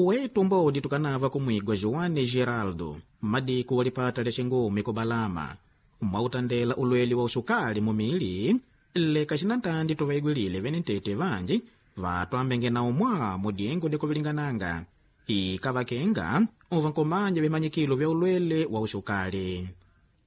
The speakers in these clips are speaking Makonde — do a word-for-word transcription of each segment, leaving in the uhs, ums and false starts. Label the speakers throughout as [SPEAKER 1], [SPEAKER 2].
[SPEAKER 1] Uwetu mbodi tukanava kumwigwa Joane Geraldo mmadiku wa lipata lya xingumi kubalama mwautandela ulweli wa uxukali mumili leka xinantandi tuvaigwilile vene ntete vanji vatwambenge na umwa mudiengo dikuvilingananga ikavakenga uvankomanja vimanyikilo vya ulwele wa uxukali.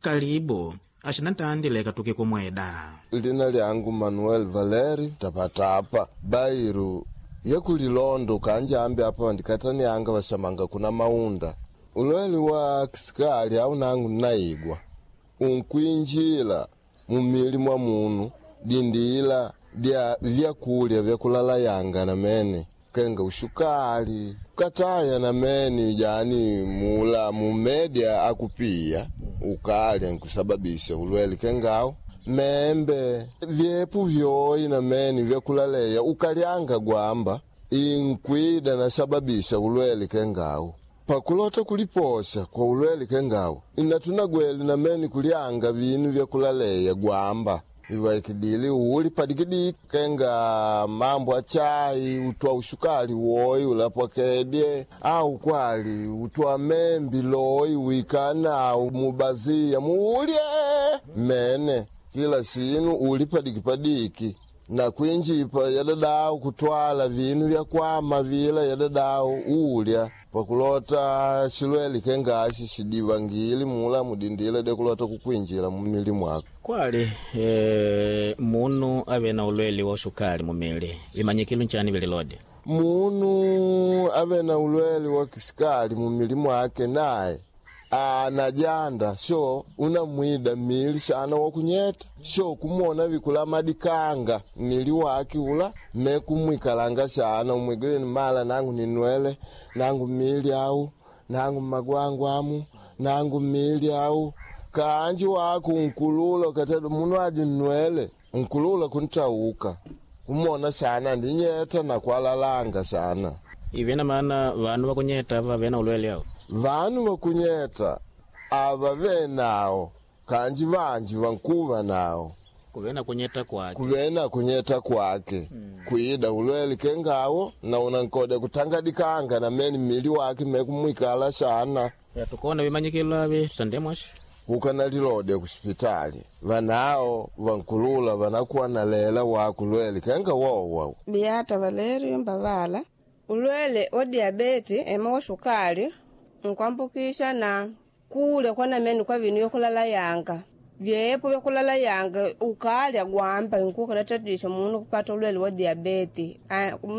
[SPEAKER 1] Kalibu axinantandi leka tuke kumweda.
[SPEAKER 2] Lina lyangu Manuel Valeri Tapatapa bairu yekulilondo kanjambi apa vandikatanianga vaxamanga kuna maunda ulweli wa kisikali au nangu nnaigwa unkwinjila mumili mwa munu dindila dya vyakulya vyakulala yanga namene kenga ushukali kataya namene jani mula mumedia akupiya ukalya nkusababisha ulweli kengawo membe vyepu vyoyi namene vyakulaleya ukalyanga gwamba inkwida nasababisha ulweli kengawo pakulota kuliposha kwa ulweli kengawo inatunagweli namene kulyanga vinu vyakulaleya gwamba ivaikidili uli padikidiki kenga mambo achai utwa ushukali woyi ulapwakedye au kwali utwa membi loyi wikana mubazia muulye mene kila sinu uli padikipadiki na kwinjipa yadadau kutwala vinu vyakwama vila yadadau ulya pakulota xilweli kengaxi xidivangili mula mudindila dekulota kukwinjila mumili mwako.
[SPEAKER 1] Kwali e, munu ave na ulweli wa uxukali mumili vimanyikilo nchani vililode?
[SPEAKER 2] Munu ave na ulweli wa kisikali mumili mwake naye anajanda sho unamwida mili sana wakunyeta sho kumwona vikula madikanga mili wake ula mekumwikalanga sana umwigileni mala nangu ninwele nangu mili au nangu magwangu amu nangu mili au kanji wako nkulula katado munu aji nwele nkulula kuntauka umona sana ndinyeta nakwalalanga sana.
[SPEAKER 1] Ivena maana vanu vakunyeta ava vena ulwele au
[SPEAKER 2] vanu vakunyeta ava venawo kanji vanji vankuva nawo
[SPEAKER 1] kuvena kunyeta kwake
[SPEAKER 2] kuvena kunyeta kwake mm. Kuida ulweli kengawo na unankode kutangadikanga na meni mili wake mekumwikala sana.
[SPEAKER 1] Ya, tukona vimanyikilo avi tusandemwashi
[SPEAKER 2] ukanalilode kusipitali vanao vankulula vanakuwa na lela wakulweli kenga wowa.
[SPEAKER 3] Beata Valerio Mbavala ulwele wa diabeti ema wa shukali nkwambukisha na kulya kwa namene kwa vinu vyakulala yanga vyepo vyakulala yanga ukalya gwamba nkukalatadisha munu kupata ulwele wa diabeti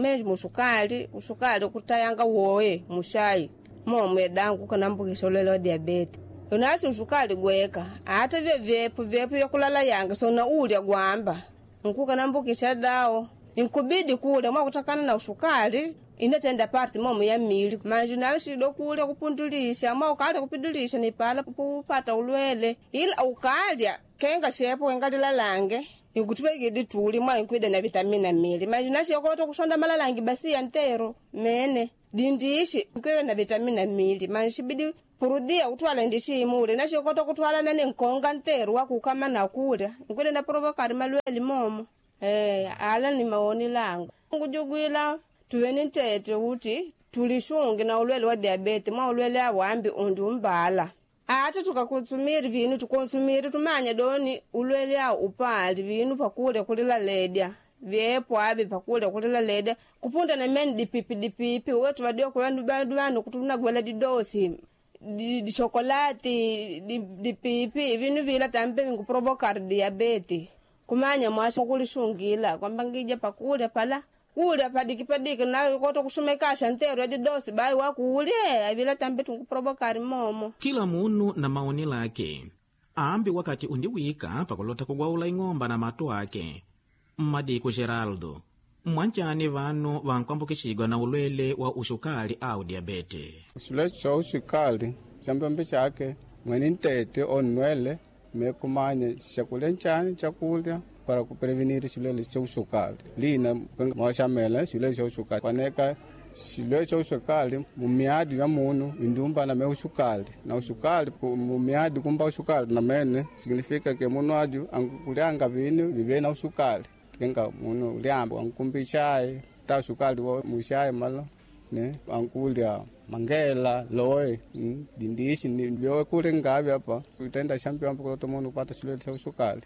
[SPEAKER 3] menji mushukali ushukali kutayanga woye mushai momwe dangu ukanambukisha ulwele wa diabeti unasi ushukali gweka ata vye vyepo vyepo vyakulala yanga sona ulya gwamba nkukanambukisha dawo inkubidi kulya mwakutakana na ushukali inatenda parti momu ya mili manje nalishido kulya kupundulisha mwa ukalya kupidulisha nipala kupata ulwele ila ukalya kenga shepo kenga lilalange inkutipekidi tuli mwa inkwida na vitamina mili manje nashiyokota kushonda malalangi basi ya ntero mene dindishi inkwida na vitamina mili manje shibidi purudia kutwala ndishimule nashiyokota kutwala nane nkonga ntero wakukama nakulya inkwida na provokari malwele momo. Eh, ala ni maoni langu ngujugwila tuweni ntete uti tulishungi na ulwele wa diabeti mwa ulwele awambi undi umbala ata tukakonsumiri vinu tukonsumiri tumanya doni ulwele awu upali vinu pakulya kulila ledya vyepo avi pakulya kulila ledya kupunda na meni dipipi dipipi wetu vadio kuvandu vandu vanu kutunagwela didosi dishokolati dipipi vinu vila tambe vinkuprovocar diabeti kumanya mwasha kulishungila kwamba ngija pakulya pala kulya padiki padiki na koto kushumekasha ntero yadidosi bayi wakulye avila tambe tunkuprovokari momo.
[SPEAKER 1] Kila munu na maoni lake ambi wakati undiwika pakulota kugwaula ing'omba na matu ake mmadiku Geraldo mwanchani vanu vankwambukixigwa na ulwele wa uxukali au diabete.
[SPEAKER 4] Xilwele xa uxukali xa mbembe xake mwene ntete onwele mekumanya xakulya nchani chakulya para kuprevenir xilwele xa uxukali lina mwaxamela xilwele xa uxukali kwaneka xilwele xa uxukali mumiadi ya munu indumbana me uxukali na uxukali mumiadi kumba uxukali na mene significa que munu aju ankulyanga vinu vive na uxukali kenga munu ulyamba ankumbi chai ta uxukali wo muxai malo ne ankulya mangela loe mm, dindishi ni byoe kule ngavi apa kutenda shampiyambo kulota munu kupata chilwele cha usukali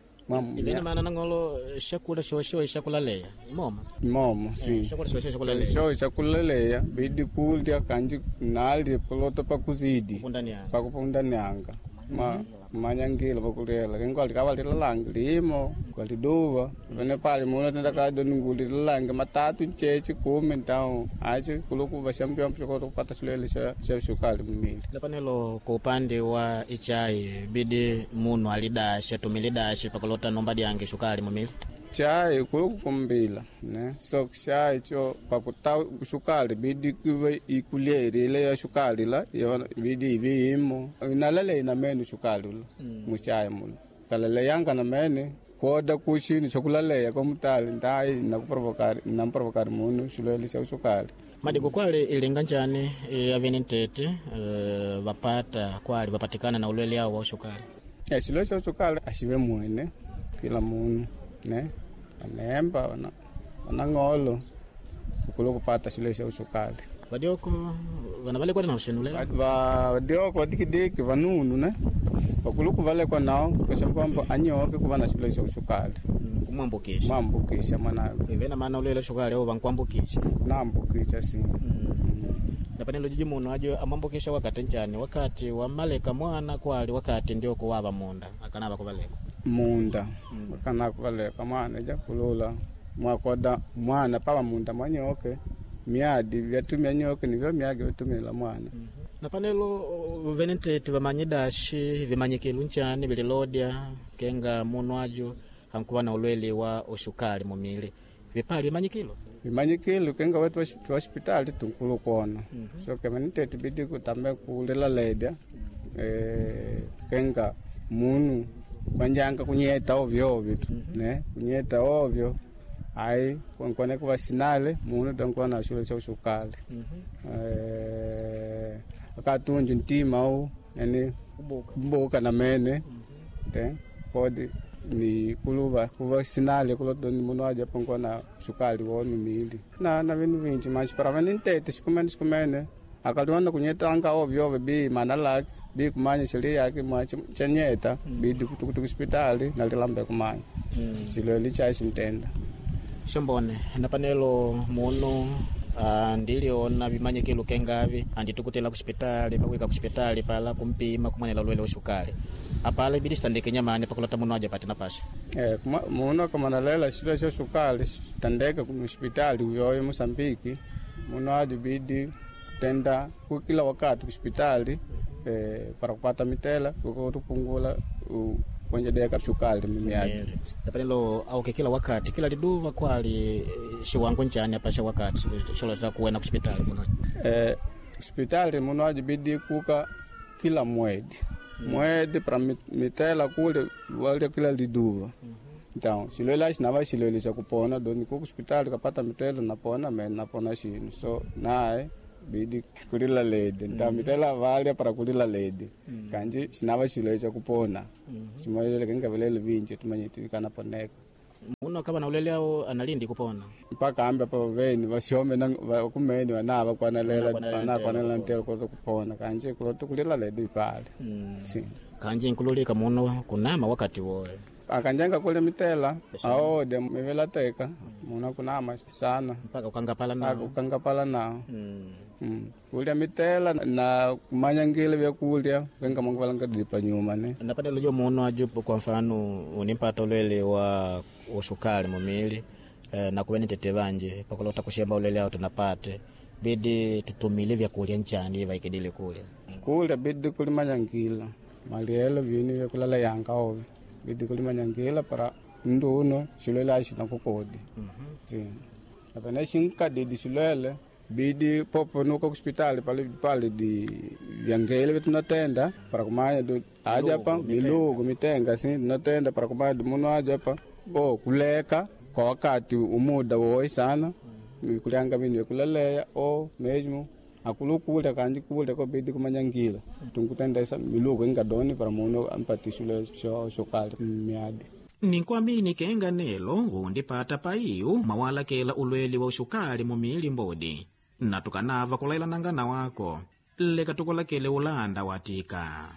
[SPEAKER 1] Ivene maana nang'olo shakula shosho shakulaleya moma
[SPEAKER 4] momo si
[SPEAKER 1] shakula shosho shakulaleya
[SPEAKER 4] sho chakulaleya bidi kulya kanji nalye kulota pakuzidi
[SPEAKER 1] pundanianga
[SPEAKER 4] pakupundanianga ma manyangila pakulela kengo alikawalilalangi limo kwaliduva pene pali muno tenda kado ningulililangi matatu nchechi kumi ntao achi kulukuva shampiyambo chokota kupata chilwele cha cha sukali mumili
[SPEAKER 1] lapanelo ku upande wa ichai bidi munu alidashe tumilidashe pakulota nomba dyange shukali mumili
[SPEAKER 4] chai kulukukumbila ne so chai cho pakuta sukali bidi kuve ikulyeri ile ya sukali la yona bidi ivi imo inalale ina mene sukali ula mm. muchai mula kalale yanga na mene kwoda kuchini chokulaleya kwa mutali ndai nakuprovokari namprovokari munu xilwele xa sukali
[SPEAKER 1] madiko kwali ilinga njani e, avene ntete e, vapata kwali vapatikana na ulwele awo wa ushukali
[SPEAKER 4] e xilwele xa sukali axive mwene kila munu ne vanemba vana vanang'olo ukulu kupata xilwele xa usukali
[SPEAKER 1] vadioko vana valekwata na uxenulela
[SPEAKER 4] vadioko vadikidiki vanunu ne vakuluku valekwa nao kusema kwamba anyoke kuva na xilwele xa usukali
[SPEAKER 1] kumwambukisha
[SPEAKER 4] mwambukisha mwanawe
[SPEAKER 1] ivena maana ulwele shukali awo vankuambukisha
[SPEAKER 4] naambukisha si
[SPEAKER 1] napanelo jiji muno ajo amwambukisha wakati njani wakati wamaleka mwana kwali wakati ndio kuwava munda akanava kuvaleka
[SPEAKER 4] munda akana kuvaleka mwana ja kulula mwakoda mwana pava munda mwanyoke miadi vyatumia nyoke nivyo miagi vyatumila mwana
[SPEAKER 1] napanelo vene ntete vamanyi dashi vimanyikilu nchani vililodya kenga munu ajo ankuva na ulwele wa ushukali mumili vipali vimanyikilo
[SPEAKER 4] vimanyikilo kenga wetu twa hospitali tunkulu kuona so kemani tete bidi kutame kulila ledya eh, kenga munu kwanjanga kunyeta ovyo ovyo tu ne kunyeta ovyo ai kwankwane kuva sinale munu dankuva na xilo xa usukali eh, akatunji ntima u yani mbuka na mene te kodi ni kuluva kuva sinale kulodoni munu aja pankuva na sukali wonu mili na na vinu vinji manji para vani ntete xikumene xikumene akaliona kunyetanga ovyo ovyo bi mana lake bi kumanya xili yake mwa chanyeta bidi kutukutu kusipitali nalilambe kumanya xilwele chai xintenda
[SPEAKER 1] xombone napanelo munu ah, ndiliona vimanyikilo kengavi anditukutela kuxipitali pakuika kuxipitali pala kumpima kumwanela ulwele uxukali apala ibidi xitandeke nyamani pakulota munu aja pati napasha
[SPEAKER 4] Eh, kuma- muno akamanalela xilo xa sukali xitandeka kuhospitali uyoyo Mosambiki muno ajo bidi tenda ku kila wakati kuhospitali eh, para kupata mitela kukutupungula kuenjedeka sukali mimiadi
[SPEAKER 1] napanelo auke kila wakati kila liduva kwali eh, xiwango njani apasha wakati xolota kuwena kuxipitali muno
[SPEAKER 4] eh, hospitali muno ajo bidi kuka kila mwedi mwedi para mi- mitela kule walya kila liduva então xilwele axinava xilwele xa kupona doni ku hospitali kapata mitela napona me napona xinu so naye bidi kulila ledi então mitela valya para kulila ledi kanji xinava xilwele xa kupona ximalele kengavelele vinji tumanyiti kanaponeka
[SPEAKER 1] muno akava na ulwele awo analindi kupona
[SPEAKER 4] mpaka ambe apa veni vasiome kumeni vanava kwanalela
[SPEAKER 1] Vanakwanela
[SPEAKER 4] vanakwanela ntelo kulota kupona kanje kulota kulila ledu ipale si
[SPEAKER 1] kanji nkululika muno kunama wakati woye
[SPEAKER 4] akanjanga kule mitela aode mivelateka muna kunama sana
[SPEAKER 1] mpaka ukangapala nao
[SPEAKER 4] ukangapala nao
[SPEAKER 1] mm.
[SPEAKER 4] Mm. Kulya mitela na kumanyangile vyakulya kenga mungu valanga dipa nyuma ne
[SPEAKER 1] napadelo jo muno ajo kwa mfano unimpata ulwele wa usukali mumili eh, nakuveni tete vanje pakulota kushemba ulwele awo tunapate bidi tutumile vyakulya nchani vaikidile kulya
[SPEAKER 4] kulya bidi kulimanyangila malielo vinu vyakulala yanga ovi bidi kulimanyangila para mndu uno xilwele axina kukodi si apene xinkadidi xilwele bidi popo nuka kuspitali pali pali di vyangele vyetunatenda para kumanya du aja pa milugu mitenga si tunatenda para kumanya du munu aja pa bo kuleka kwa wakati umuda woi sana kulyanga vinu vyakulaleya o mesmo akulukulya kanji kulya ko bidi kumanyangila tunkutendesa milugu ingadoni para munu ampati xilwele xo xokali miadi
[SPEAKER 1] ninkuamini kenga nelo undipata paiyu mwawalakela ulweli wa uxukali mumili mbodi Na tukanava kulailananga na wako, leka tukulakele ulanda watika.